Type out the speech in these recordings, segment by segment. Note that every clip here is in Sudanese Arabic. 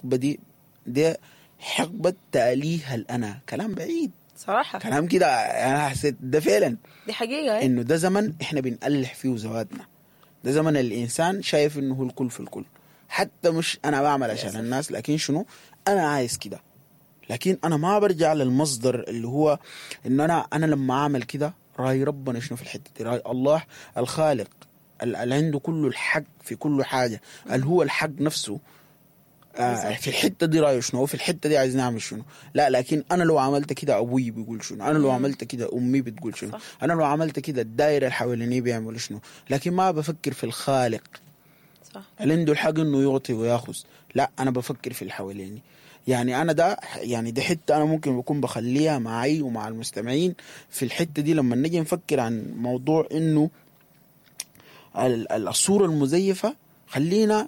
الحقبة دي، دي حقبة تأليه الأنا. كلام بعيد صراحة، كلام كده انا حسيت ده فعلا دي حقيقة. انه ده زمن احنا بنألح فيه ذواتنا، ده زمن الانسان شايف انه هو الكل في الكل، حتى مش انا بعمل عشان الناس، لكن شنو انا عايز كده، لكن انا ما برجع للمصدر اللي هو انه انا لما اعمل كده راي ربنا شنو في الحتة دي، راي الله الخالق اللي عنده كل الحق في كل حاجة، اللي هو الحق نفسه في الحتة دي رايه شنو، في الحتة دي عايز نعمل شنو. لا، لكن انا لو عملت كده ابوي بيقول شنو، انا لو عملت كده امي بتقول شنو، انا لو عملت كده الدائرة اللي حواليني بيعملوا شنو، لكن ما بفكر في الخالق. صح. اللي عنده الحق انه يعطي وياخذ، لا انا بفكر في اللي حواليني. يعني انا ده يعني دي حتة انا ممكن بكون بخليها معي ومع المستمعين في الحتة دي لما نجي نفكر عن موضوع انه الصورة المزيفه، خلينا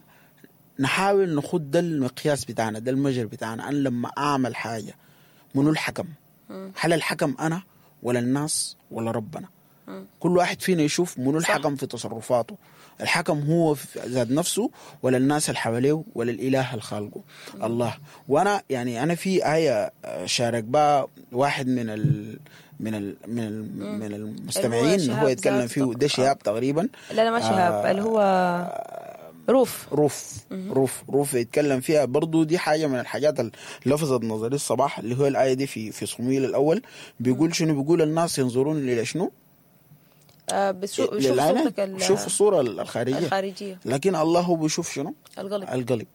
نحاول نخد ده المقياس بتاعنا، ده المجر بتاعنا. انا لما اعمل حاجة منو الحكم؟ هل الحكم انا ولا الناس ولا ربنا؟ كل واحد فينا يشوف منو الحكم في تصرفاته. الحكم هو في ذات نفسه ولا الناس اللي حواليه ولا الاله اللي خالقه الله. وانا يعني انا في ايه شارك بها واحد من ال من ال من ال من المستمعين هو يتكلم فيه، ده شهاب تقريبا. لا ما شهاب، اللي هو روف روف روف روف يتكلم فيها برضو. دي حاجة من الحاجات اللي لفظت نظري الصباح، اللي هو الآية دي في صموئيل الأول، بيقول شنو؟ بيقول الناس ينظرون إلى شنو؟ بشوف صورتك بشوف الصورة الخارجية، لكن الله هو بيشوف شنو؟ القلب. القلب.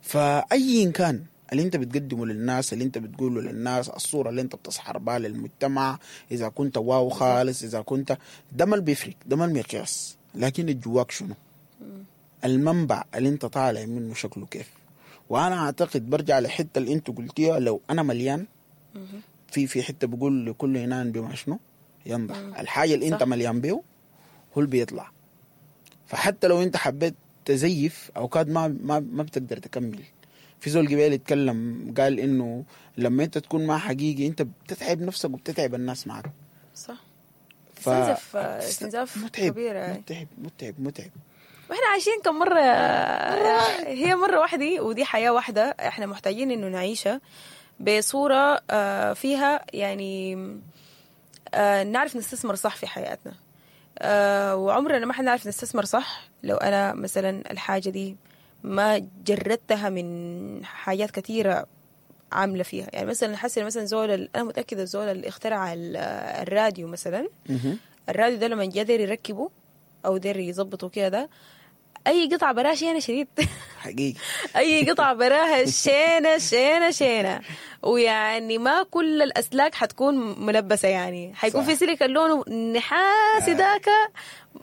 فأي كان اللي انت بتقدمه للناس، اللي انت بتقوله للناس، الصورة اللي انت بتسحر بها للمجتمع، إذا كنت واو خالص، إذا كنت ده ما بيفرق، ده ما المقياس، لكن جواك شنو؟ المنبع اللي انت طالع منه شكله كيف. وانا اعتقد برجع لحته اللي انت قلتيها، لو انا مليان في حتة بقول لكل انان بما شنو ينضح. الحاجة اللي انت مليان بيه هو اللي بيطلع. فحتى لو انت حبيت تزيف اوقات ما ما ما بتقدر تكمل. في زول قبل يتكلم قال انه لما انت تكون ما حقيقي انت بتتعب نفسك وبتتعب الناس معك. صح. استنزاف متعب كبير. متعب متعب متعب. واحنا عايشين كم مرة، هي مرة واحدة ودي حياة واحدة، احنا محتاجين انه نعيشها بصورة فيها يعني نعرف نستثمر صح في حياتنا. وعمرنا ما حنعرف نستثمر صح لو انا مثلا الحاجة دي ما جردتها من حاجات كثيرة عاملة فيها. يعني مثلا حسن مثلا زول، انا متأكدة زول اللي اخترع الراديو مثلا، الراديو ده لما جا داير يركبه او داير يظبطه كده، ده اي قطعه براها شينه شديد حقيقي اي قطعه براها شينه شينه شينه، ويعني ما كل الاسلاك حتكون ملبسه، يعني حيكون في سلك اللون نحاسي ذاك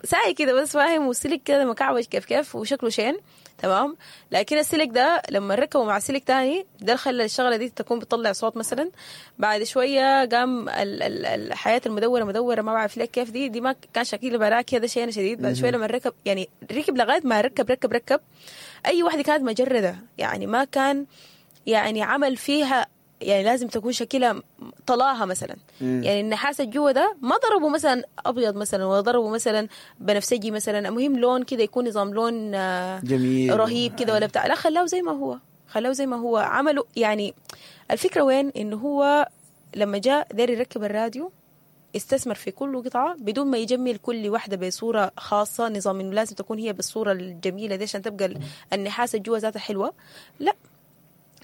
ساي كده بس، فاهم، والسلك كده مكعوج كيف كيف وشكله شين، تمام. لكن السلك ده لما ركبه مع سلك تاني ده خلى الشغلة دي تكون بتطلع صوت مثلا. بعد شوية قام الحياة المدوره مدورة ما بعرف ليه كيف، دي ما كان شكله براك كده شيء شديد. بعد شوية لما ركب يعني ركب لغاية ما ركب ركب ركب اي واحدة كانت مجرده، يعني ما كان يعني عمل فيها يعني لازم تكون شكلها طلاها مثلا. يعني النحاس الجوا ده ما ضربوا مثلا ابيض مثلا، ولا ضربوا مثلا بنفسجي مثلا، المهم لون كده يكون نظام لون جميل رهيب كده ولا بتاع، لا خلاه زي ما هو، خلاه زي ما هو عملوا. يعني الفكرة وين؟ انه هو لما جاء داير يركب الراديو استثمر في كل قطعه بدون ما يجمل كل واحدة بصورة خاصة، نظام انه لازم تكون هي بالصورة الجميلة دي عشان تبقى النحاس الجوا ذاتها حلوة، لا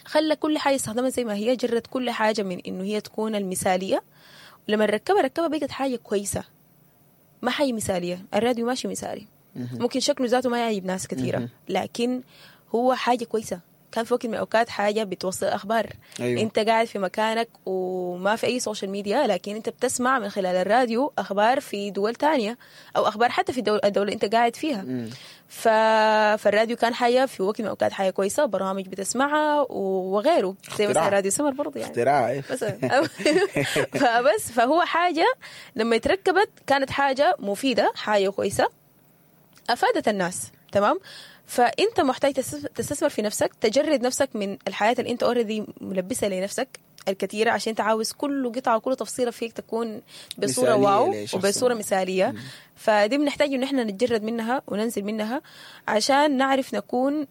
خلى كل حاجة استخدمها زي ما هي، جرت كل حاجة من إنه هي تكون المثالية. ولما ركبها بقت حاجة كويسة، ما حاجة مثالية. الراديو ماشي مثالي، ممكن شكله ذاته ما يعجب ناس كثيرة، لكن هو حاجة كويسة. كان في وقت من الأوقات حاجة بتوصل أخبار. أيوه. أنت قاعد في مكانك وما في أي social media، لكن أنت بتسمع من خلال الراديو أخبار في دول تانية أو أخبار حتى في الدولة اللي أنت قاعد فيها. فالراديو كان حاجة في وقت من الأوقات حاجة كويسة، برامج بتسمعها وغيره، زي مثلا راديو سمر برضه يعني اختراع مثلا. فبس فهو حاجة لما اتركبت كانت حاجة مفيدة، حاجة كويسة أفادت الناس، تمام. فانت محتاج تستثمر في نفسك، تجرد نفسك من الحياة اللي انت already ملبسها لنفسك الكثيرة، عشان انت عاوز كل قطعه وكل تفصيله فيك تكون بصورة wow وبصورة مثاليه. فدي بنحتاج ان احنا نتجرد منها وننزل منها عشان نعرف نكون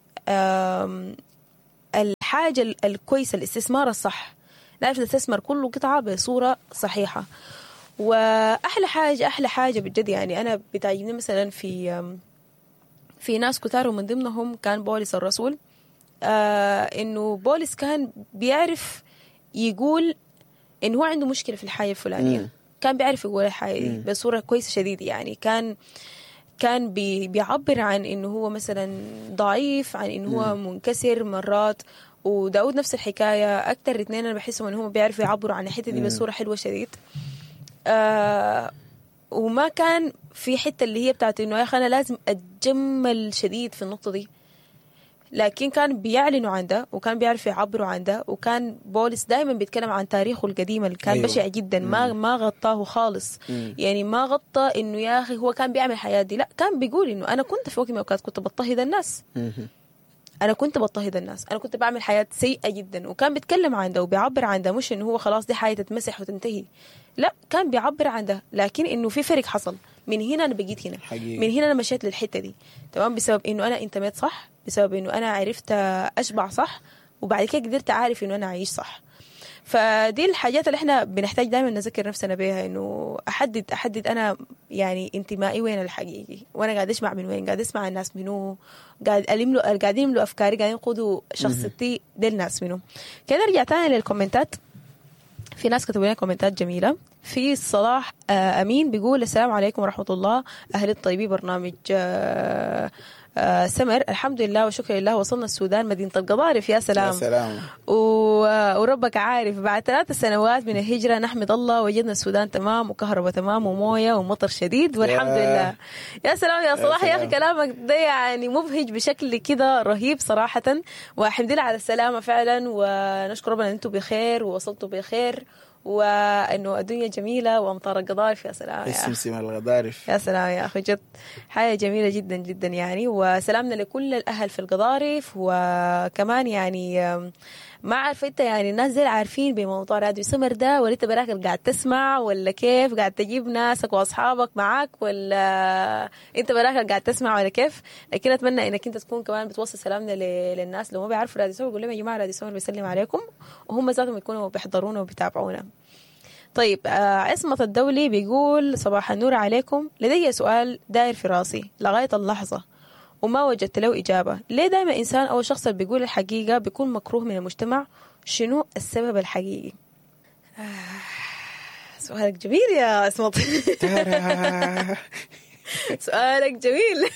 الحاجة الكويسة، الاستثمار الصح، نعرف نستثمر كل قطعة بصورة صحيحة. وأحلى حاجة، أحلى حاجة بجد يعني أنا بتعجبني مثلا في ناس كتار، ومن ضمنهم كان بولس الرسول، إنه بولس كان بيعرف يقول إنه هو عنده مشكلة في الحاجة الفلانية. كان بيعرف يقول الحاجة دي بصورة كويسة شديد يعني. كان بيعبر عن إنه هو مثلا ضعيف، عن إنه هو منكسر مرات. وداود نفس الحكاية. أكتر اثنين أنا بحسهم إنه هم بيعرفوا يعبروا عن الحتة دي بصورة حلوة شديد. وما كان في حتة اللي هي بتاعت إنه يا أخي أنا لازم أتجمل شديد في النقطة دي، لكن كان بيعلنوا عن ده وكان بيعرفوا يعبروا عن ده. وكان بولس دائما بيتكلم عن تاريخه القديم اللي كان بشع جدا، ما غطاه خالص. يعني ما غطى انه يا اخي هو كان بيعمل الحياة دي، لا، كان بيقول انه انا كنت في وقت من الاوقات كنت بضطهد الناس، انا كنت بضطهد الناس، انا كنت بعمل حياة سيئه جدا. وكان بيتكلم عن ده وبيعبر عن ده، مش انه هو خلاص دي حاجة تتمسح وتنتهي، لا، كان بيعبر عن ده، لكن انه في فرق حصل، من هنا انا بقيت هنا حقيقي. من هنا انا مشيت للحتة دي، تمام، بسبب انه انا انتميت صح، بسبب انه انا عرفت اشبع صح، وبعد كده قدرت اعرف انه انا اعيش صح. فدي الحاجات اللي احنا بنحتاج دائما نذكر نفسنا بيها، انه احدد انا يعني انتمائي وين الحقيقي، وانا قاعد اسمع من وين، قاعد اسمع الناس منو، قاعد الملو، قاعدين يملوا افكاري، قاعدين يقودوا شخصيتي دي الناس منو. كده نرجع تاني للكومنتات. في ناس كتبوا لنا كومنتات جميلة. في صلاح امين بيقول السلام عليكم ورحمة الله، اهل الطيبين، برنامج سمر، الحمد لله وشكر لله وصلنا السودان مدينة القضارف. يا سلام، يا سلام. وربك عارف بعد 3 سنوات من الهجرة نحمد الله وجدنا السودان تمام، وكهرباء تمام، وموية ومطر شديد، والحمد لله. يا سلام يا صلاح، يا أخي كلامك ده يعني مبهج بشكل كده رهيب صراحة، والحمد لله على السلامة فعلا، ونشكر ربنا أن أنتم بخير ووصلتوا بخير، وانه الدنيا جميلة وامطار القضارف. يا سلام يا سمسم القضارف، يا سلام يا اخي، جد حاجة جميلة جدا جدا يعني. وسلامنا لكل الاهل في القضارف. وكمان يعني ما عارفه انت يعني الناس زي عارفين بموضوع راديو سمر ده، ولا انت براك قاعد تسمع، ولا كيف قاعد تجيب ناسك واصحابك معاك، ولا انت براك قاعد تسمع، ولا كيف؟ لكن اتمنى انك انت تكون كمان بتوصل سلامنا للناس لو ما بيعرفوا راديو سمر، قول لهم يا جماعة راديو سمر بيسلم عليكم، وهم ذاتهم يكونوا بيحضرونا وبيتابعونا. طيب عصمت الدولي بيقول صباح النور عليكم، لدي سؤال داير في راسي لغاية اللحظة وما وجدت له إجابة، ليه دائما إنسان أو شخص اللي بيقول الحقيقة بيكون مكروه من المجتمع؟ شنو السبب الحقيقي؟ سؤالك جميل يا عصمت. سؤالك جميل.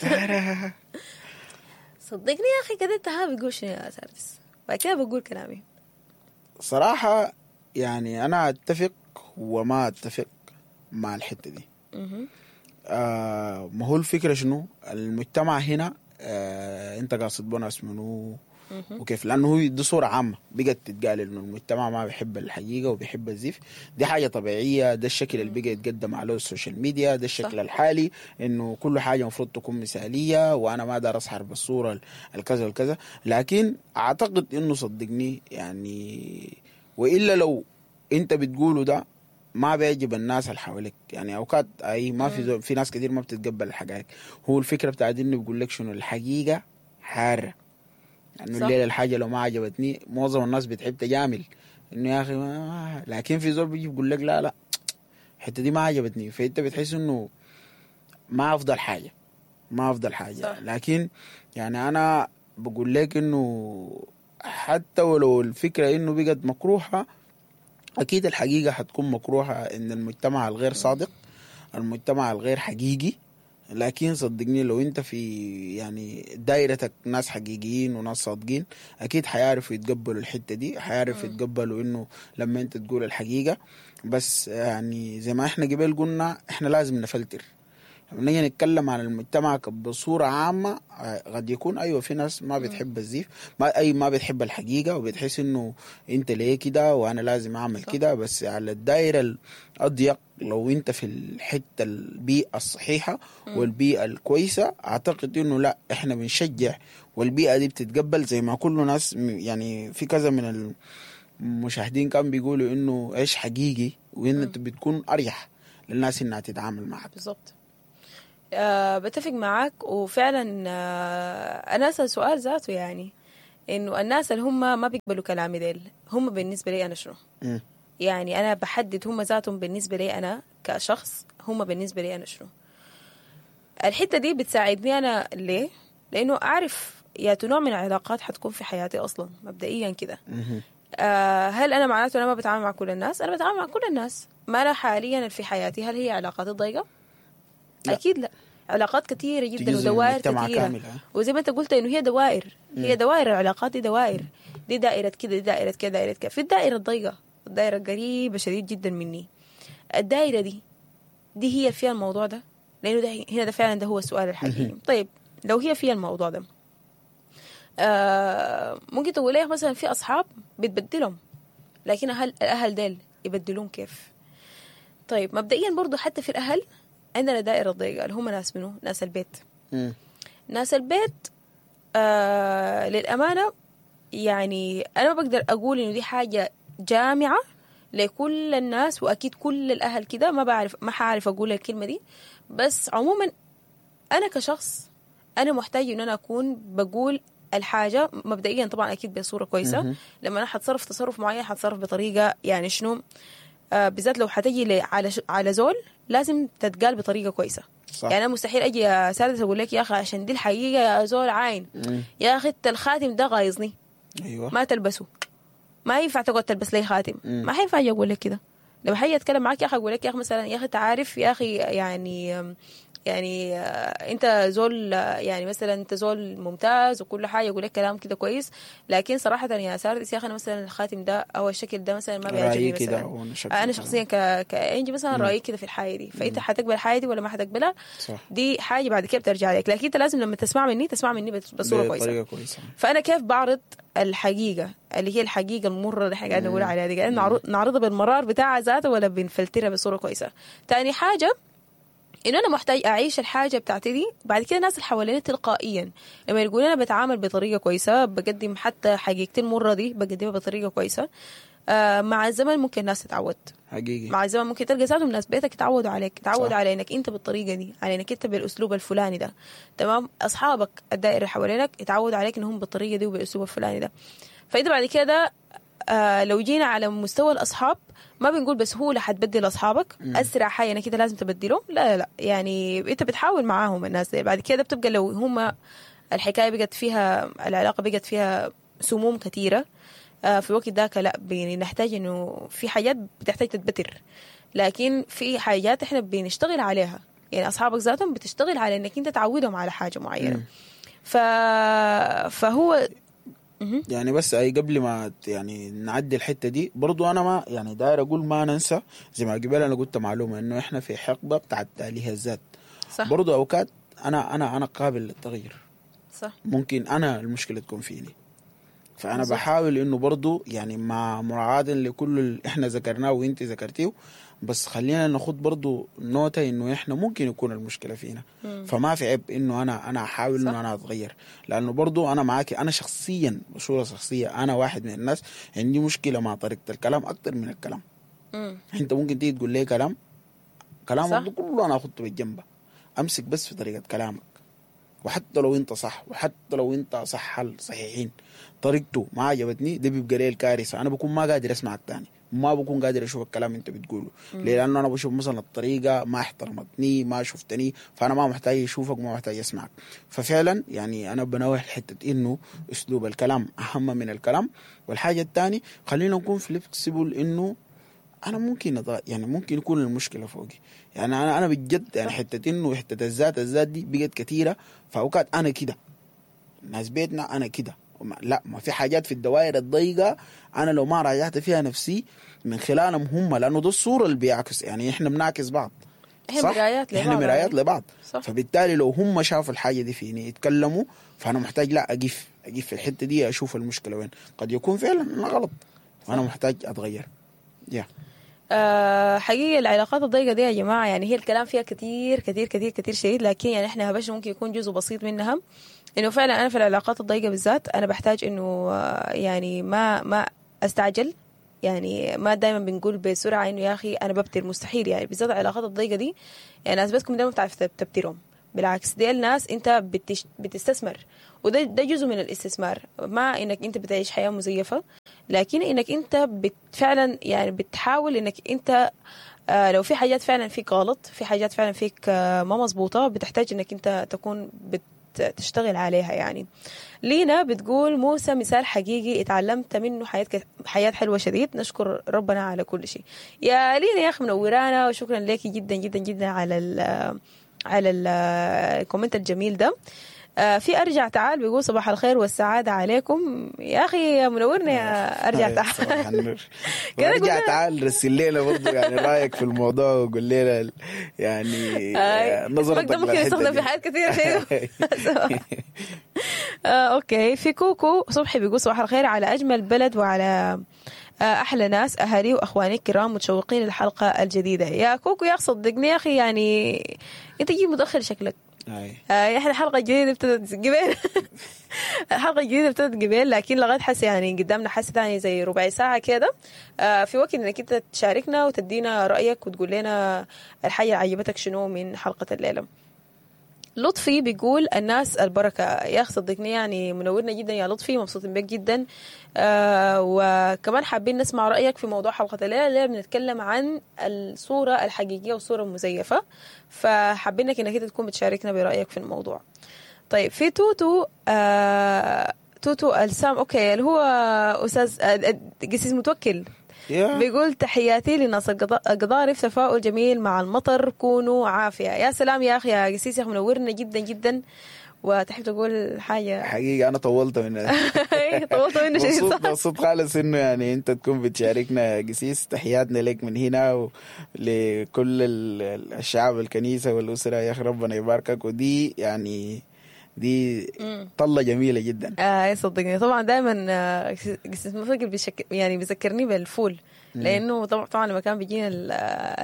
صدقني يا أخي كده انت ها بتقول شنو يا ساردس، بعد كده بقول كلامي. صراحة يعني أنا أتفق وما أتفق مع الحتة دي. ما هو الفكرة شنو؟ المجتمع هنا انت قاصد بناس منو وكيف؟ لانه هو دي صورة عامة بقت تتقال انه المجتمع ما بيحب الحقيقة وبيحب الزيف. دي حاجة طبيعية، ده الشكل اللي بقى يتقدم عليه ال social media، ده الشكل صح. الحالي انه كل حاجة المفروض تكون مثالية، وانا ما دار اظهر بالصورة الكذا والكذا. لكن اعتقد انه صدقني يعني، والا لو انت بتقوله ده ما بيعجب الناس اللي حواليك يعني. اوقات اي ما في في ناس كثير ما بتتقبل الحقائق. هو الفكرة بتاعت انه بيقول لك شنو الحقيقة حارة يعني. الليلة الحاجة لو ما عجبتني معظم الناس بتحب تجامل انه يا اخي ما، لكن في زول بيجي بيقول لك لا لا الحتة دي ما عجبتني، فانت بتحس انه ما افضل حاجة، ما افضل حاجة صح. لكن يعني انا بقول لك انه حتى ولو الفكرة انه بقت مكروهة، أكيد الحقيقة حتكون مكروهة إن المجتمع الغير صادق، المجتمع الغير حقيقي. لكن صدقني لو أنت في يعني دايرتك ناس حقيقيين وناس صادقين، أكيد حيعرفوا يتقبلوا الحتة دي، حيعرفوا يتقبلوا إنه لما أنت تقول الحقيقة. بس يعني زي ما إحنا قبل قلنا إحنا لازم نفلتر. لما نيجي نتكلم عن المجتمع بصورة عامة قد يكون أيوة في ناس ما بتحب الزيف، ما بتحب الحقيقة، وبتحس إنه أنت ليه كده وأنا لازم أعمل كده. بس على الدائرة الأضيق لو أنت في الحتة البيئة الصحيحة والبيئة الكويسة، أعتقد إنه لا إحنا بنشجع والبيئة دي بتتقبل. زي ما كل ناس يعني في كذا من المشاهدين كان بيقولوا إنه عيش حقيقي، وإن أنت بتكون أريح للناس إنها تتعامل معك. بالضبط. بتفق معاك. وفعلا أنا أسأل سؤال ذاته يعني انه الناس اللي هم ما بيقبلوا كلامي ديل هم بالنسبة لي انا شنو؟ يعني انا بحدد هم ذاتهم بالنسبة لي انا كشخص، هم بالنسبة لي انا شنو. الحتة دي بتساعدني انا ليه؟ لانه اعرف يا نوع من العلاقات حتكون في حياتي اصلا مبدئيا كده. هل انا معناته انا ما بتعامل مع كل الناس؟ انا بتعامل مع كل الناس. ما انا حاليا في حياتي هل هي علاقاتي ضيقه؟ لا. اكيد لا، علاقات كثيرة جدا جزء من ودوائر المجتمع كثيرة كامل، ها؟ وزي ما انت قلت انه هي دوائر، هي دوائر، العلاقات دي دوائر، دي دائرة كده، دي دائرة كده، دائرة كده. في الدائرة الضيقه، الدائرة القريبة شديد جدا مني، الدائرة دي هي فيها الموضوع ده، لانه ده هنا ده فعلا ده هو السؤال الحقيقي. طيب لو هي فيها الموضوع ده، ممكن تقول لي مثلا في اصحاب بتبدلهم، لكن هل الاهل ديل يبدلون كيف؟ طيب مبدئيا برضو حتى في الاهل عندنا دائرة ضيقه اللي هم ناس منو؟ ناس البيت. ناس البيت للأمانة يعني أنا ما بقدر أقول إنه دي حاجة جامعة لكل الناس وأكيد كل الأهل كده، ما بعرف، ما حعرف أقول الكلمة دي، بس عموما أنا كشخص أنا محتاج إن أنا أكون بقول الحاجة مبدئيا طبعا أكيد بصورة كويسة. لما أنا حتصرف تصرف معين حتصرف بطريقة يعني شنو، بالذات لو حتجي على زول لازم تتقال بطريقة كويسة. صح. يعني أنا مستحيل أجي يا سادس أقول لك يا أخي عشان دي الحقيقة يا زول عين، يا أخي أنت الخاتم ده غايظني، أيوة. ما تلبسه، ما ينفع تقعد تلبس لي خاتم، ما حينفع أجي أقول لك كده. لو حاجة أتكلم معاك يا أخي أقول لك يا أخي مثلا يا أخي أنت عارف يا أخي يعني أنت زول، يعني مثلا أنت زول ممتاز وكل حاجة، أقول لك كلام كده كويس، لكن صراحة يا ساردس يا أخي أنا مثلا الخاتم ده أو الشكل ده مثلا ما بيعجبني مثلا، أنا شخصيا كإنجي مثلا رأيي كده في الحاجة دي، فأنت حتقبل الحاجة دي ولا ما حتقبلها؟ صح. دي حاجة بعد كده بترجع لك، لكن أنت لازم لما تسمع مني تسمع مني بصورة كويسة. كويسة. فأنا كيف بعرض الحقيقة اللي هي الحقيقة المرة اللي احنا قاعدين نقول عليها دي، قاعدين نعرضها بالمرار بتاعها ذاته ولا بنفلترها بصورة كويسة؟ تاني حاجة إنه أنا محتاج أعيش الحاجة بتاعتي دي، بعد كده الناس اللي حواليني تلقائيا لما يقولوا أنا بتعامل بطريقة كويسة، بقدم حتى حقيقتي المرة دي بقدمها بطريقة كويسة، مع الزمن ممكن الناس تتعود. حقيقي مع الزمن ممكن تلقى ذاتهم ناس بيتك يتعودوا عليك، يتعودوا على انك انت بالطريقة دي، على انك انت بالاسلوب الفلاني ده، تمام؟ اصحابك الدائرة اللي حوالينك يتعودوا عليك انهم بالطريقة دي وبالاسلوب الفلاني ده. فانت بعد كده لو جينا على مستوى الاصحاب ما بنقول بسهولة حتبدل اصحابك، اسرع حاجة انك انت لازم تبدلهم، لا لا لا، يعني انت بتحاول معاهم الناس دي. بعد كده بتبقى لو هم الحكاية بقت فيها، العلاقة بقت فيها سموم كثيرة، في الوقت ذاك لا بنحتاج انه في حاجات بتحتاج تتبتر، لكن في حاجات احنا بنشتغل عليها، يعني اصحابك ذاتهم بتشتغل على انك انت تعودهم على حاجة معينة. فهو يعني بس اي قبل ما يعني نعدي الحتة دي برضو انا ما يعني داير اقول ما ننسى زي ما قبل انا قلت معلومة انه احنا في حقبة بتاعت تأليه الذات. صح. برضو اوقات انا قابل للتغيير. صح. ممكن انا المشكلة تكون فيني، فانا بحاول انه برضو يعني مع مراعاة لكل اللي احنا ذكرناه وانت ذكرتيه، بس خلينا ناخد برضو نوتة انه احنا ممكن يكون المشكلة فينا. فما في عيب انه انا احاول انه انا اتغير، لانه برضو انا معاكي، انا شخصيا بصورة شخصية انا واحد من الناس عندي مشكلة مع طريقة الكلام اكتر من الكلام. انت ممكن تيجي تقول لي كلام كلامك كله انا اخده بالجنب، امسك بس في طريقة كلامك، وحتى لو انت صح وحتى لو انت صح صحيحين طريقته ما عجبتني، ده بيبقى لي الكارثة. انا بكون ما قادر اسمع الثاني، ما بكون قادر اشوف الكلام انت بتقوله. ليه؟ لانه انا بشوف مثلا الطريقة ما احترمتني، ما شفتني، فانا ما محتاج اشوفك وما محتاج اسمعك. ففعلا يعني انا بنوه حتة انه اسلوب الكلام اهم من الكلام. والحاجة الثانية خلينا نكون flexible، انه انا ممكن يعني ممكن يكون المشكلة فوقي. يعني انا بجد يعني حتة انه حتة الذات دي بقت كثيرة، فاوقات انا كده ناس بيتنا انا كده، لا ما في حاجات في الدوائر الضيقه انا لو ما راجعت فيها نفسي من خلالهم هم، لانه ده الصورة اللي بيعكس، يعني احنا بنعكس بعض، احنا مرايات لبعض، احنا مرايات لبعض. صح. فبالتالي لو هم شافوا الحاجة دي فيني يتكلموا، فانا محتاج لا اقف في الحتة دي، اشوف المشكلة وين، قد يكون فعلا انا غلط وانا محتاج اتغير. حقيقة العلاقات الضيقة دي يا جماعة يعني هي الكلام فيها كتير كتير كتير كتير شديد، لكن يعني احنا هبش ممكن يكون جزء بسيط منها. انه فعلا انا في العلاقات الضيقة بالذات انا بحتاج انه يعني ما استعجل، يعني ما دايما بنقول بسرعة انه يا اخي انا ببتر، مستحيل. يعني بالذات العلاقات الضيقة دي يعني ناس بتكم دايما بتعرف تبترهم، بالعكس دي الناس انت بتستثمر وده ده جزء من الاستثمار، ما انك انت بتعيش حياة مزيفة، لكن انك انت فعلا يعني بتحاول انك انت لو في حاجات فعلا فيك غلط، في حاجات فعلا فيك ما مظبوطة، بتحتاج انك انت تكون بتشتغل عليها يعني. لينا بتقول موسى مثال حقيقي اتعلمت منه حياة حلوة شديد، نشكر ربنا على كل شيء. يا لينا يا اخي منورانا، وشكرا لك جدا جدا جدا على ال comment الجميل ده. في ارجع تعال بيقول صباح الخير والسعادة عليكم. يا اخي منورنا يا ارجع تعال. ارجع تعال رسل لنا برضه يعني رايك في الموضوع وقول لنا يعني نظرتك. ده ممكن يستخدم في حاجات كثيرة. okay. في كوكو صبحي بيقول صباح الخير على اجمل بلد وعلى احلى ناس، اهالي واخواني الكرام، متشوقين للحلقة الجديدة. يا كوكو يا اخي صدقني يا اخي يعني انت جيت متاخر شكلك. احنا الحلقة الجديدة ابتدت قبل، الحلقة الجديدة ابتدت قبل، لكن لغاية حس يعني قدامنا حس ثاني زي ربع ساعة كده، في وقت انك انت تشاركنا وتدينا رايك وتقول لنا الحاجة اللي عجبتك شنو من حلقة الليلة. لطفي بيقول الناس البركة. يا أخي صدقني يعني منورنا جدا يا لطفي، مبسوطين بك جدا. وكمان حابين نسمع رأيك في موضوع حلقة الليلة. الليلة بنتكلم عن الصورة الحقيقية والصورة المزيفة، فحابينك انك انت تكون بتشاركنا برأيك في الموضوع. طيب في توتو توتو السام، okay اللي هو أستاذ قسيس متوكل بيقول تحياتي لناس القضارف، تفاؤل جميل مع المطر، كونوا عافية. يا سلام يا أخي يا قسيس، يا أخي منورنا جدا جدا. وتحب تقول حاجة؟ حقيقة أنا طولت منه. طولت منه شيء. مبسوط خالص إنه يعني أنت تكون بتشاركنا يا قسيس. تحياتنا لك من هنا ولكل الشعب الكنيسة والأسرة. يا أخي ربنا يباركك، ودي يعني دي طلة جميلة جدا. صدقني طبعا دائما قسيس مفكر يعني بيذكرني بالفول، لانه طبعا لما كان بيجينا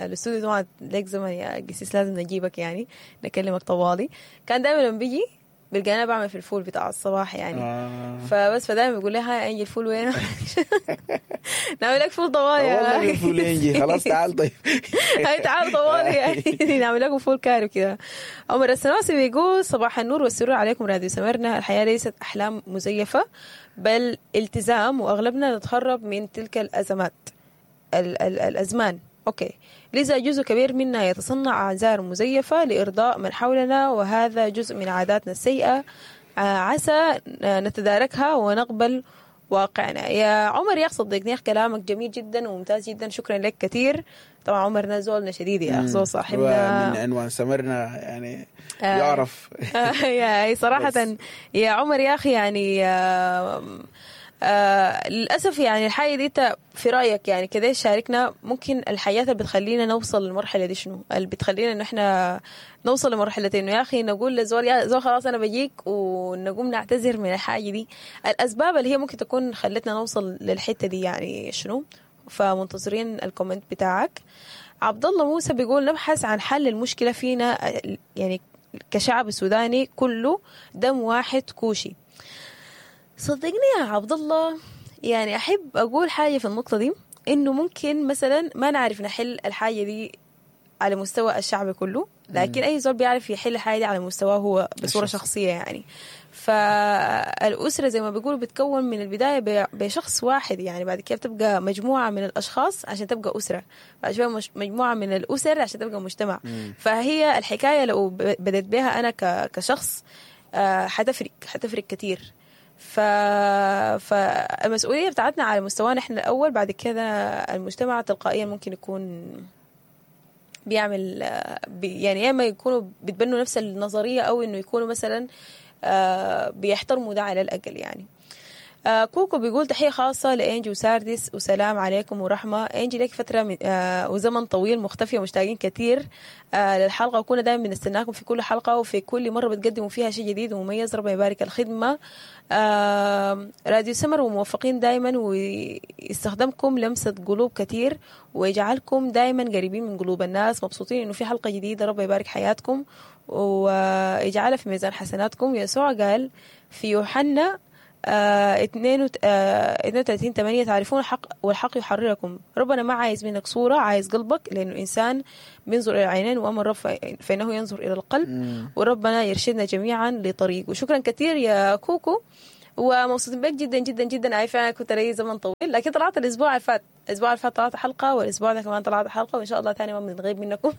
الاستوديو طبعا لك زمن يا قسيس لازم نجيبك يعني نكلمك طوالي، كان دائما لما بيجي بلقى انا بعمل في الفول بتاع الصباح يعني. فبس فدائما بيقول لي هاي انجي الفول وين؟ نعمل لك فول طوالي. والله الفول انجي خلاص تعال. طيب هاي تعال طوالي يعني نعمل لكم فول كارب كده. عمر السنوسي بيقول صباح النور والسرور عليكم راديو سمرنا، الحياة ليست احلام مزيفة بل التزام، واغلبنا نتهرب من تلك الازمات الازمان. okay، لذا جزء كبير منا يتصنع اعذار مزيفة لارضاء من حولنا، وهذا جزء من عاداتنا السيئة، عسى نتداركها ونقبل واقعنا. يا عمر يا صدقني كلامك جميل جدا وممتاز جدا، شكرا لك كثير. طبعا عمر نزولنا شديد يا اخ، زول صاحبنا من عنوان سمرنا يعني يعرف. يا صراحة يا عمر يا اخي يعني للأسف يعني الحاجة دي في رأيك يعني كده شاركنا، ممكن الحياة اللي بتخلينا نوصل للمرحلة دي شنو؟ اللي بتخلينا إنه إحنا نوصل لمرحلة إنه يا أخي نقول لزول يا زول خلاص أنا بجيك ونقوم نعتذر من الحاجة دي، الأسباب اللي هي ممكن تكون خلتنا نوصل للحتة دي يعني شنو؟ فمنتظرين ال comment بتاعك. عبد الله موسى بيقول نبحث عن حل المشكلة فينا يعني كشعب سوداني كله دم واحد كوشي. صدقني يا عبد الله يعني أحب أقول حاجة في النقطة دي، إنه ممكن مثلا ما نعرف نحل الحاجة دي على مستوى الشعب كله، لكن أي زول بيعرف يحل الحاجة دي على مستواه هو بصورة شخصية يعني. فالأسرة زي ما بيقولوا بتكون من البداية بشخص واحد يعني، بعد كده بتبقى مجموعة من الأشخاص عشان تبقى أسرة، بعد شوية مجموعة من الأسر عشان تبقى مجتمع. فهي الحكاية لو بدأت بها أنا كشخص حتفرق كتير. فالمسؤولية بتاعتنا على مستوانا احنا الأول، بعد كده المجتمع تلقائيا ممكن يكون بيعمل يعني يا اما يكونوا بيتبنوا نفس النظرية أو إنه يكونوا مثلا بيحترموا ده على الأقل يعني. كوكو بيقول تحية خاصة لإنجي وساردس وسلام عليكم ورحمة. إنجي لك فترة وزمن طويل مختفية، مشتاقين كثير للحلقة، وكنا دائما بنستناكم في كل حلقة وفي كل مرة بتقدموا فيها شيء جديد ومميز. ربنا يبارك الخدمة. راديو سمر وموفقين دائما، ويستخدمكم لمسة قلوب كثير ويجعلكم دائما قريبين من قلوب الناس. مبسوطين إنه في حلقة جديدة، ربنا يبارك حياتكم ويجعلها في ميزان حسناتكم. يسوع قال في يوحنا 32 8، تعرفون الحق والحق يحرركم. ربنا ما عايز منك صورة، عايز قلبك، لأنه الإنسان بينظر إلى العينين وأما الرب فإنه ينظر إلى القلب. وربنا يرشدنا جميعا لطريقه. شكرا كثير يا كوكو، ومبسوطين بك جدا جدا جدا. اي فعلا كنت لي زمن طويل، لكن طلعت الاسبوع اللي فات، الاسبوع اللي فات طلعت حلقة، والاسبوع ده كمان طلعت حلقه، وان شاء الله ثاني ما بنغيب منكم.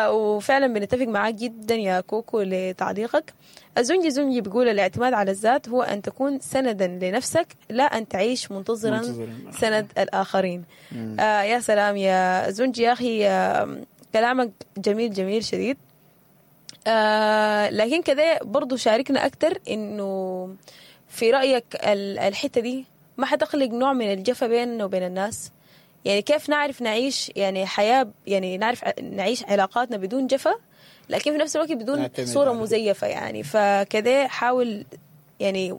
وفعلا بنتفق معاك جدا يا كوكو لتعليقك. الزنجي زنجي بيقول الاعتماد على الذات هو ان تكون سندا لنفسك، لا ان تعيش منتظرا منتظراً. سند الاخرين. يا سلام يا زنجي يا اخي، كلامك جميل جميل شديد. لكن كده برضو شاركنا أكتر إنه في رأيك الحتة دي ما حتخلق نوع من الجفا بيننا وبين الناس؟ يعني كيف نعرف نعيش يعني حياة، يعني نعرف نعيش علاقاتنا بدون جفا، لكن في نفس الوقت بدون نعتمد صورة على مزيفة يعني؟ فكده حاول يعني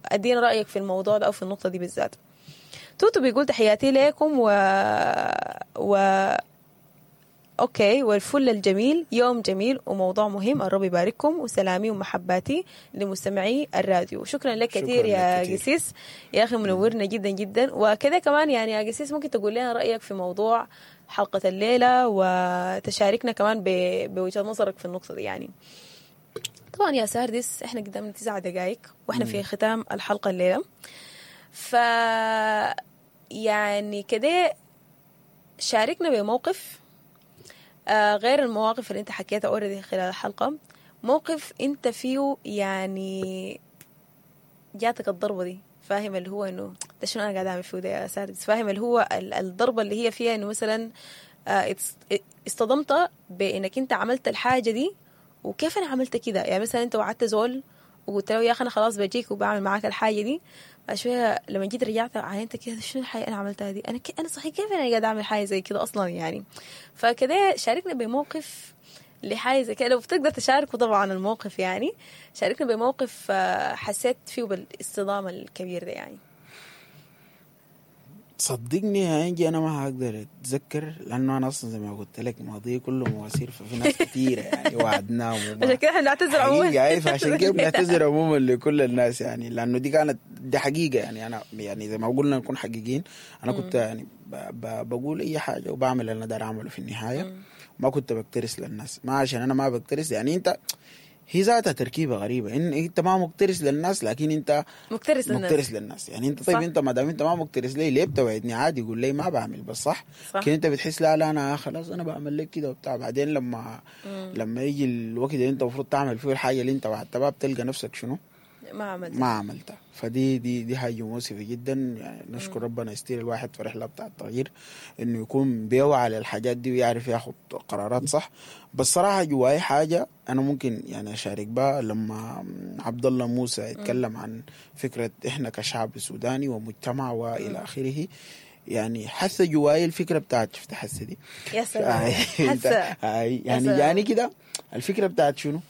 أدينا رأيك في الموضوع ده أو في النقطة دي بالذات. توتو بيقول تحياتي لكم و okay والفل الجميل، يوم جميل وموضوع مهم، الرب يبارككم، وسلامي ومحباتي لمستمعي الراديو. شكرا لك شكراً كثير لك يا كتير. قسيس يا اخي، منورنا جدا جدا. وكذا كمان يعني يا قسيس ممكن تقول لنا رايك في موضوع حلقة الليلة وتشاركنا كمان بوجهة نظرك في النقطة دي يعني. طبعا يا ساردس احنا قدامنا 9 دقائق واحنا في ختام الحلقة الليلة، ف يعني كده شاركنا بموقف غير المواقف اللي انت حكيتها already خلال الحلقة، موقف انت فيه يعني جاتك الضربة دي، فاهم؟ اللي هو انه ده شنو انا قاعد اعمل فيه ده يا ساردس، فاهم؟ اللي هو الضربة اللي هي فيها انه مثلا اصطدمت بانك انت عملت الحاجة دي، وكيف انا عملت كده؟ يعني مثلا انت وعدت زول وقلت له يا اخي انا خلاص بجيك وبعمل معاك الحاجة دي، بعد شوية لما جيت رجعت عاينت كده، شنو الحاجة انا عملتها دي؟ انا صحيح كيف انا قاعد اعمل حاجة زي كده اصلا يعني؟ فكده شاركنا بموقف لحاجة زي كده لو بتقدر تشاركه طبعا الموقف، يعني شاركنا بموقف حسيت فيه بالاصطدام الكبير ده يعني. صدقني يا انجي انا ما هقدر اتذكر، لانه انا اصلا زي ما قلت لك ماضي كله مواسير، ففي ناس كثيرة يعني وعدناهم عشان كده احنا بنعتذر عموما. حقيقة أي، فعشان كده بنعتذر عموما لكل الناس يعني، لانه دي كانت دي حقيقة يعني. انا يعني زي ما قلنا نكون حقيقيين، انا كنت يعني بقول اي حاجة وبعمل اللي انا داير اعمله في النهايه، ما كنت بكترس للناس. ما عشان انا ما بكترس يعني، انت هي ذاتها تركيبه غريبة ان انت ما مكترس للناس لكن انت مكترث للناس. مكترث للناس يعني. انت طيب انت ما دام انت ما مكترث ليه، ليه بتوعدني؟ عادي قول لي ما بعمل بس، صح؟ صح. لكن انت بتحس لا لا انا خلاص انا بعمل لك كده وبتاع، بعدين لما يجي الوقت اللي انت المفروض تعمل فيه الحاجة اللي انت وعدتها بها بتلقى نفسك شنو؟ ما عملت. ما عملتها. فدي دي دي حاجة مؤسفة جدا يعني. نشكر ربنا يستير الواحد في رحله بتاع التغيير انه يكون بيوعى للحاجات دي ويعرف ياخد قرارات صح. بس صراحة جواي حاجة انا ممكن يعني اشارك بها، لما عبد الله موسى يتكلم عن فكرة احنا كشعب سوداني ومجتمع والى اخره، يعني حس جواي الفكرة بتاعت، شفت حس دي؟ يا سلام، حس. يعني سلام. يعني كده الفكرة بتاعت شنو؟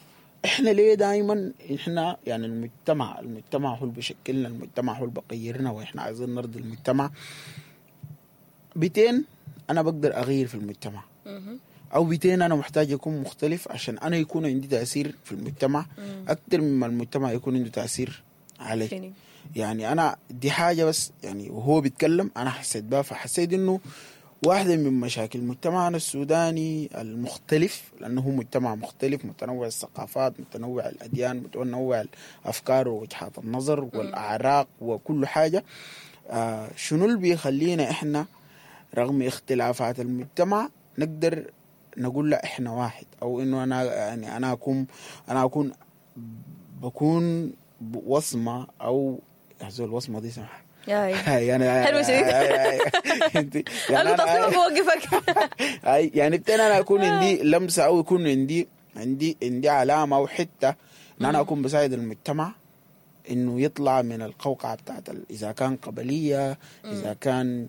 احنا ليه دائما احنا يعني المجتمع هو اللي بيشكلنا، المجتمع هو اللي بيغيرنا، واحنا عايزين نرضي المجتمع. بتين انا بقدر اغير في المجتمع او بتين انا محتاج اكون مختلف عشان انا يكون عندي تاثير في المجتمع اكثر مما المجتمع يكون عنده تاثير علي؟ فيني. يعني انا دي حاجة بس يعني وهو بيتكلم انا حسيت بها، فحسيت انه واحدة من مشاكل مجتمعنا السوداني المختلف، لأنه هو مجتمع مختلف متنوع الثقافات، متنوع الأديان، متنوع الأفكار ووجهات النظر والأعراق وكل حاجة. شنو اللي بيخلينا إحنا رغم اختلافات المجتمع نقدر نقول لا إحنا واحد، أو إنه أنا يعني أنا أكون بكون وصمة أو يا زول الوصمة دي سمحة. يا يعني حلو شديد. يعني انا تصميم بوقفك. أي يعني بتين انا اكون عندي لمسه او يكون عندي علامة او حتة ان انا اكون بساعد المجتمع انه يطلع من القوقعة بتاعت اذا كان قبليه، اذا كان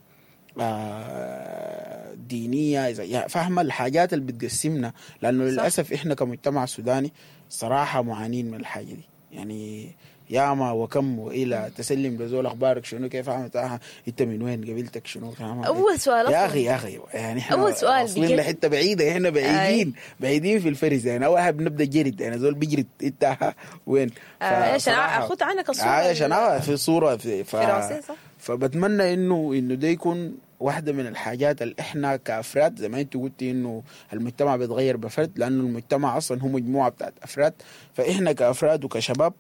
دينيه، اذا يعني فاهمه الحاجات اللي بتقسمنا، لانه للاسف احنا كمجتمع سوداني صراحة معانين من الحاجة دي يعني. ياما وكم والى تسلم لزول اخبارك شنو كيف عملت، انت من وين، قبيلتك شنو، اول سؤال يا اخي يا اخي، يعني احنا اول سؤال واصلين لحته بعيدة، احنا بعيدين بعيدين في الفرز يعني. اول حاجة بنبدا جرد، يعني زول بيجرد انت وين، عشان اخذ عنك الصورة، عشان في صوره في راسي صح. فبتمنى انه ده يكون واحدة من الحاجات اللي احنا كافراد زي ما انت قلتي انه المجتمع بيتغير بفرد، لانه المجتمع اصلا هو مجموعة بتاعت افراد. فاحنا كافراد وكشباب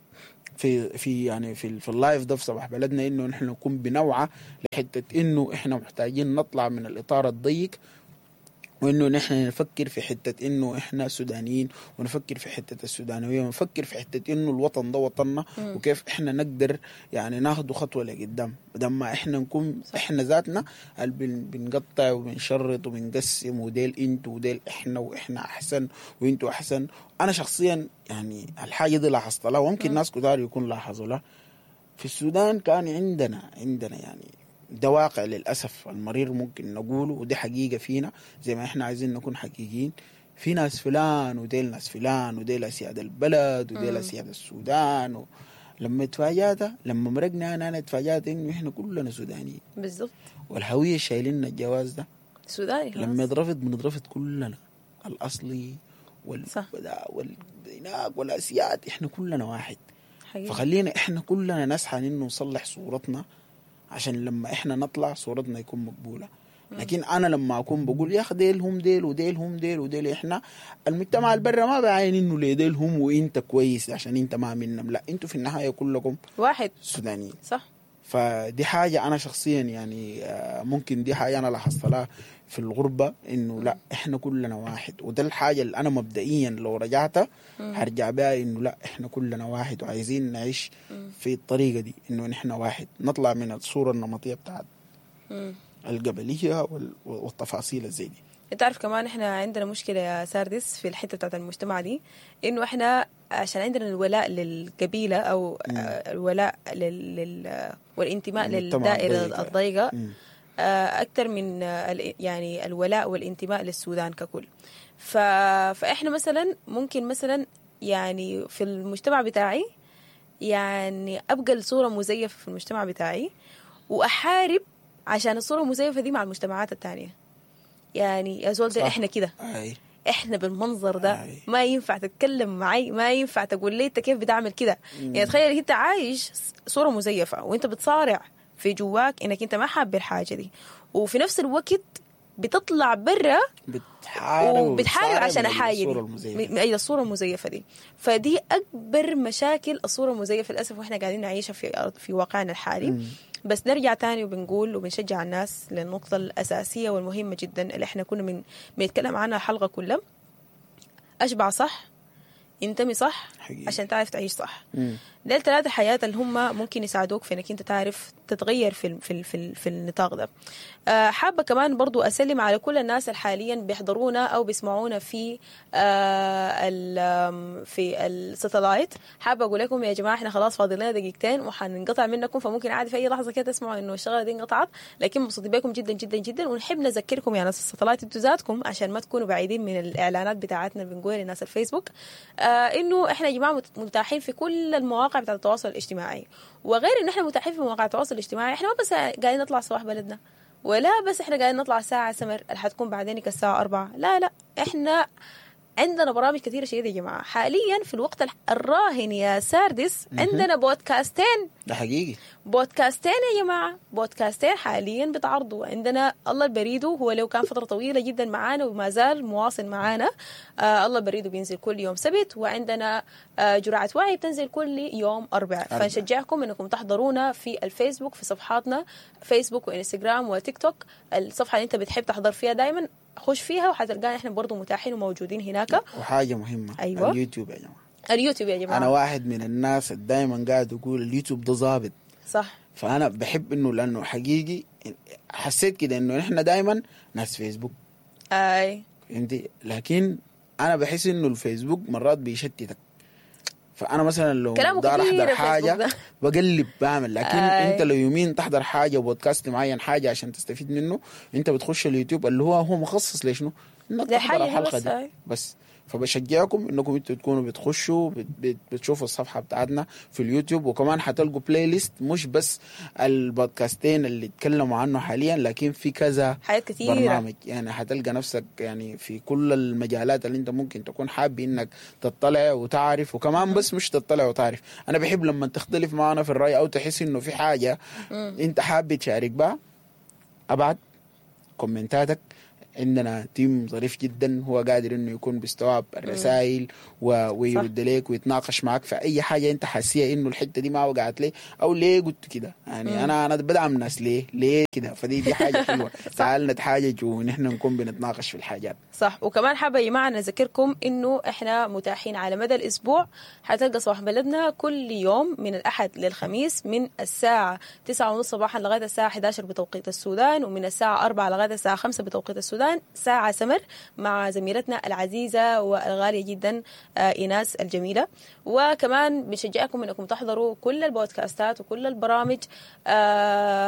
في في يعني في ال live ده في صباح بلدنا، انه نحن نكون بنوعى لحته انه احنا محتاجين نطلع من الاطار الضيق، وانه نحن نفكر في حتة انه احنا سودانيين، ونفكر في حتة السودانويه، ونفكر في حتة انه الوطن ده وطننا، وكيف احنا نقدر يعني ناخده خطوة لقدام، بدل ما احنا نكون احنا ذاتنا بنقطع وبنشرط وبنقسم، وديل انتوا وديل احنا، واحنا احسن وانتوا احسن. انا شخصيا يعني الحاجة دي لاحظت لها، وممكن ناس كتار يكون لاحظوا لها. في السودان كان عندنا يعني ده واقع للأسف المرير ممكن نقوله، ودي حقيقة فينا زي ما احنا عايزين نكون حقيقيين. في ناس فلان وديل ناس فلان، وديل أسياد البلد وديل أسياد السودان. لما اتفاجأت، لما مرقنا أنا اتفاجأت إنه احنا كلنا سودانيين بالضبط، والهوية شايلين الجواز ده سوداني. لما يترفض بنترفض كلنا، الأصلي والهناك والأسياد، احنا كلنا واحد حقيقي. فخلينا احنا كلنا نسعى إنه نصلح صورتنا، عشان لما احنا نطلع صورتنا يكون مقبولة. لكن انا لما اكون بقول يا اخي ديل هم ديل وديل هم ديل وديل، احنا المجتمع البرة ما بعاين انه ليه ديل هم وانت كويس عشان انت ما منهم، لا انتوا في النهاية كلكم واحد سودانيين صح. فدي حاجة انا شخصيا يعني ممكن دي حاجة انا لاحظت لها في الغربة، انه لا احنا كلنا واحد. وده الحاجة اللي انا مبدئيا لو رجعت هرجع بها، انه لا احنا كلنا واحد، وعايزين نعيش في الطريقة دي، انه نحن واحد، نطلع من الصورة النمطية بتاعت القبلية والتفاصيل الزي دي. انت عارف كمان احنا عندنا مشكلة يا ساردس في الحتة بتاعت المجتمع دي، انه احنا عشان عندنا الولاء للقبيلة او الولاء والانتماء للدائرة الضيقة أكثر من يعني الولاء والانتماء للسودان ككل. فإحنا مثلا ممكن مثلا يعني في المجتمع بتاعي يعني أبقى الصورة مزيفة في المجتمع بتاعي، وأحارب عشان الصورة المزيفة دي مع المجتمعات التانية. يعني يا زول ده إحنا كده، إحنا بالمنظر ده ما ينفع تتكلم معي، ما ينفع تقول لي أنت كيف بتعمل كده. يعني تخيل أنت عايش صورة مزيفة وأنت بتصارع في جواك انك انت ما حابب الحاجة دي، وفي نفس الوقت بتطلع برا وبتحارب عشان الحاجة دي من اجل الصورة المزيفه دي. فدي اكبر مشاكل الصورة المزيفه للاسف، واحنا قاعدين نعيشها في واقعنا الحالي. بس نرجع تاني وبنقول وبنشجع الناس للنقطة الاساسية والمهمه جدا اللي احنا كنا بنتكلم عنها الحلقة كلها: اشبع صح، انتمي صح حقيقي، عشان تعرف تعيش صح. ديل ثلاثة حياة اللي هم ممكن يساعدوك في انك انت تعرف تتغير في في في, في النطاق ده. حابة كمان برضو اسلم على كل الناس اللي حاليا بيحضرونا او بيسمعونا في في ال satellite. حابة اقول لكم يا جماعة احنا خلاص فاضل لنا دقيقتين وحننقطع منكم، فممكن عادي في اي لحظة كده تسمعوا انه الشغلة دي انقطعت، لكن مبسوطين بكم جدا جدا جدا. ونحب نذكركم يا ناس ال satellite انتوا ذاتكم عشان ما تكونوا بعيدين من الاعلانات بتاعتنا اللي بنقولها لناس الفيسبوك، انه احنا يا جماعة متاحين في كل المواقع بتاعت التواصل الاجتماعي. وغير ان احنا متاحين في مواقع التواصل الاجتماعي، احنا ما بس قاعدين نطلع صباح بلدنا، ولا بس احنا قاعدين نطلع ساعة سمر اللي حتكون بعدين الساعة 4، لا لا، احنا عندنا برامج كثيرة شديدة يا جماعة. حاليا في الوقت الراهن يا ساردس عندنا بودكاستين. ده حقيقي، بودكاستين يا جماعة، بودكاستين حاليا بتعرضوا. عندنا الله البريدو، هو لو كان فترة طويلة جدا معانا وما زال مواصل معانا، الله البريدو بينزل كل يوم سبت، وعندنا جرعة وعي بتنزل كل يوم أربعاء. فنشجعكم انكم تحضرونا في الفيسبوك، في صفحاتنا فيسبوك وإنستغرام وتيك توك، الصفحة اللي انت بتحب تحضر فيها دايما خش فيها وحتلقانا احنا برضو متاحين وموجودين هناك. وحاجة مهمة، أيوة، اليوتيوب يا جماعة، اليوتيوب يا جماعة. أنا واحد من الناس دايما قاعد أقول اليوتيوب ده ظابط صح، فأنا بحب إنه لأنه حقيقي حسيت كده إنه إحنا دايما ناس فيسبوك، أي فهمتي، لكن أنا بحس إنه الفيسبوك مرات بيشتتك. فانا مثلا لو دار احضر حاجة بقلب بعمل، لكن انت لو يومين تحضر حاجة بودكاست معين حاجة عشان تستفيد منه، انت بتخش اليوتيوب اللي هو مخصص لشنو؟ انك للحاجة تحضر دي الحلقة بس، دي أي. بس. فبشجعكم انكم انتوا تكونوا بتخشوا بتشوفوا الصفحة بتاعتنا في اليوتيوب، وكمان حتلقوا playlist مش بس البودكاستين اللي اتكلموا عنه حاليا، لكن في كذا حاجات كثيرة. برنامج. يعني حتلقى نفسك يعني في كل المجالات اللي انت ممكن تكون حابب انك تطلع وتعرف. وكمان بس مش تطلع وتعرف، انا بحب لما تختلف معنا في الراي او تحس انه في حاجة انت حابب تشارك بها، ابعت كومنتاتك. عندنا team ظريف جدا هو قادر انه يكون بيستوعب الرسائل ويرد لك ويتناقش معك في اي حاجة انت حاسيها انه الحتة دي ما وقعت ليه او ليه قلت كده. يعني انا بدعم ناس ليه كده، فدي حاجة حلوة. تعال نتحاجج ونحن نكون بنتناقش في الحاجات. صح. وكمان حابة يا جماعة نذكركم انه احنا متاحين على مدى الاسبوع. حتلقى صباح بلدنا كل يوم من الاحد للخميس من الساعة 9:30 صباحا لغاية الساعة 11 بتوقيت السودان، ومن الساعة 4 لغاية الساعة 5 بتوقيت السودان، ساعة سمر مع زميلتنا العزيزة والغاليه جدا ايناس الجميلة. وكمان بنشجعكم انكم تحضروا كل البودكاستات وكل البرامج،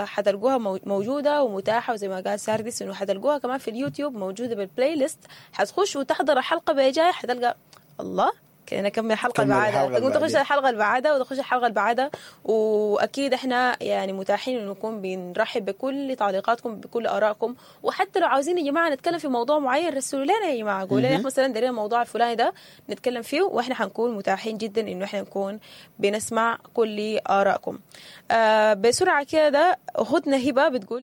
حتلقوها موجودة ومتاحه، وزي ما قال ساردس انه حتلقوها كمان في اليوتيوب موجودة بال playlist. حتخش وتحضر الحلقة بجاي حتلقى الله كده نكمل الحلقة كمل اللي بعدها، الحلقة تقوم اللي تخش بعديها. الحلقة اللي بعدها وتخش الحلقة اللي بعدها. واكيد احنا يعني متاحين انه نكون بنرحب بكل تعليقاتكم بكل ارائكم، وحتى لو عاوزين يا جماعة نتكلم في موضوع معين رسلوا لنا يا جماعة، قولوا لنا مثلا دايرين الموضوع الفلاني ده نتكلم فيه، واحنا حنكون متاحين جدا انه احنا نكون بنسمع كل ارائكم. بسرعة كده اختنا هبه بتقول